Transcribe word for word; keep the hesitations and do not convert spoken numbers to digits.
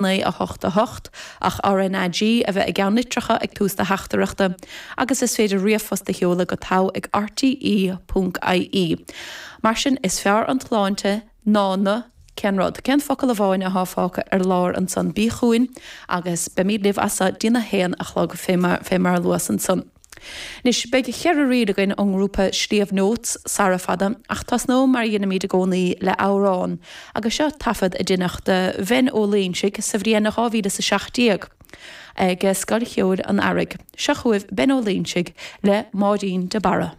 naoi a hocht a hocht, ach RnaG a bheith i gceannlitreacha ag tús do theachtaireachta, agus is féidir ríomhphost a sheoladh go togha ag rte ponc ie. Mar sin, is fearr an tsláinte ná na, cén rud? Cén focal amháin athá fágtha ar lár ansan? Bí chugainn agus beimid libh as so dtína haon a chlog fé mar a luas ansan. Anois, beidh ceithre ríl againn ón ngrúpa Sliabh Notes sara fada, ach tosnóidh mar a dheinimid i gcónaí le amhrán, agus seo taifead a deineadh de Bhen Ó Loingsigh sa bhliain dhá mhíle is a seacht déag ag Scoil Cheoil an Earraigh. Seo chugaibh Ben Ó Loingsigh le Máirín de Barra.